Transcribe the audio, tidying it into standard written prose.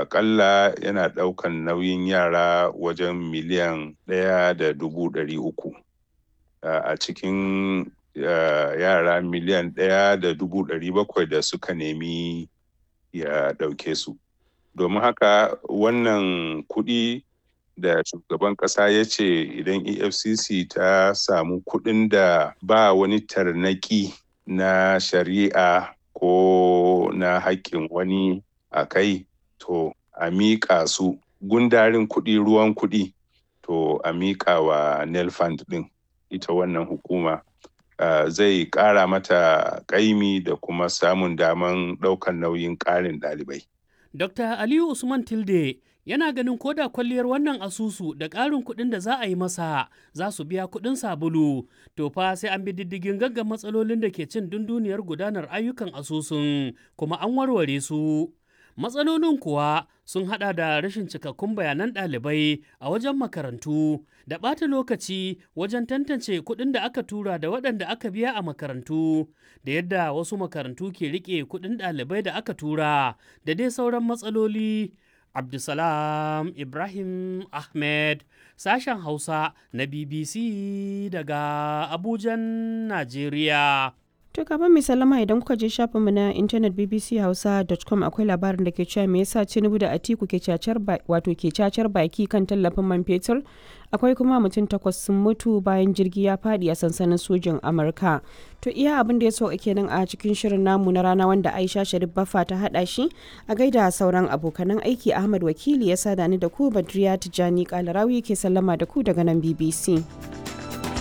Aƙalla yana ɗaukan nauyin yara wajen 1,300,000. A cikin yara 1,700,000 da suka nemi ya ɗauke su. Domin haka wannan kuɗi da shugaban ƙasa ya ce idan EFCC ta samu kuɗin da ba wani tarnaƙi na shari'a ko na haƙƙin wani a kai, to a miƙa su gundarin kuɗi, ruwan kuɗi, to a miƙa wa NELFUND ɗin, ita wannan hukuma, zai ƙara mata ƙaimi da kuma samun daman ɗaukan nauyin ƙarin ɗalibai. Dr. Aliyu Usman Tilde yana ganin koda kwalliyar wannan asusu da ƙarin kuɗin da za a yi masa za su biya kuɗin sabulu, to fa sai an bi diddigin gaggan matsalolin da ke cin dunduniyar gudanar ayyukan asusun kuma an warware su. Matsalolin kuwa sun hada da rashin cikakkun bayanan ɗalibai a wajen makarantu da ɓata lokaci wajen tantance kuɗin da aka tura da waɗanda aka biya a makarantu, da yadda wasu makarantu ke riƙe kuɗin ɗalibai da aka tura, da dai sauran matsaloli. Abdulsalam Ibrahim Ahmed, sashen Hausa na BBC daga Abujan, Najeriya. To kafin mai sallama, idan kuka je shafinmu na intanet bbchausa.com, akwai labarin da ke cewa me yasa Tinubu da Atiku ke cacar, wato ke cacar baki kan tallafin man fetur. Akwai kuma mutum 8 sun mutu bayan jirgi ya fadi a sansanin sojin Amurka. To iya abin da ya sauka kenan a cikin shirin namu na rana, wanda Aisha Sharif Baffa ta hada shi. A gaida sauran abokanan aiki, Ahmad Wakili ya sada ni da ku, Badriya Tijani Kalarawi ke sallama da ku daga nan BBC.